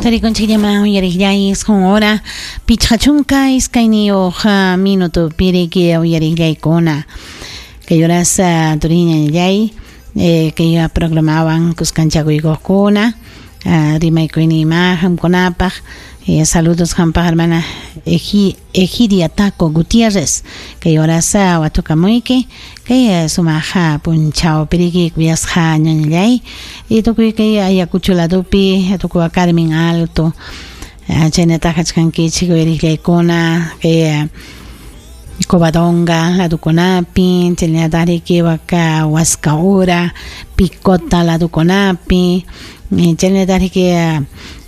Tarikunchikllaman uyariqllay isqun hora 52 minuto piriki uyariqllaykuna. Kay horas turiñallay kay programawan kuskanchakuykuqkuna rimaykuyninma qamkunapaq. Saludos qampaq hermana Egidia Taco Gutiérrez. Kay horas watukamuyki kay sumaq punchaw piriki kuyasqa ñañallay y tukuy kay Ayacucho ladopi tukuy Carmen Alto chaynataq kachkankichik uyariqllaykuna kay Covadonga ladukunapi chaynataq riki waka Huascaura Picota ladukunapi chaynataq riki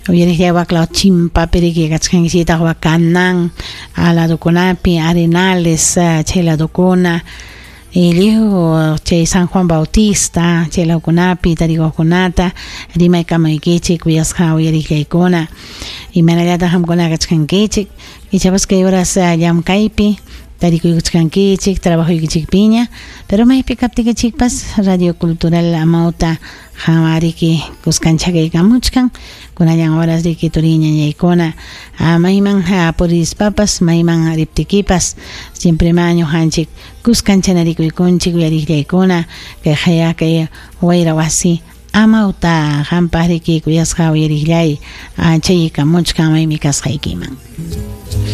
uyariqllay waklaw Chimpapi riki kachkankichikta Wacanan ladukunapi Arenales chay ladukuna lliw chay San Juan Bautista chay lawkunapi tarikuqkunata rimaykamaykichik kuyasqa uyariqllaykuna imaynallataq qamkuna kachkankichik ichapas kay horas llamkaypi tarikuykuchkankichik trabajoykichikpiña pero maypi kaptikichikpas Radio Cultural Amauta qanwariki kuskanchakaykamuchkan kunallan horas riki turiñañaykuna mayman purispapas mayman riptikipas siempre ma ñuqanchik kuskanchanarikuykunchik uyariqllaykuna kay qaya kay wayra wasi Amauta qampaq riki kuyasqa uyariqllay chaykamuchkan maymi kasqaykiman.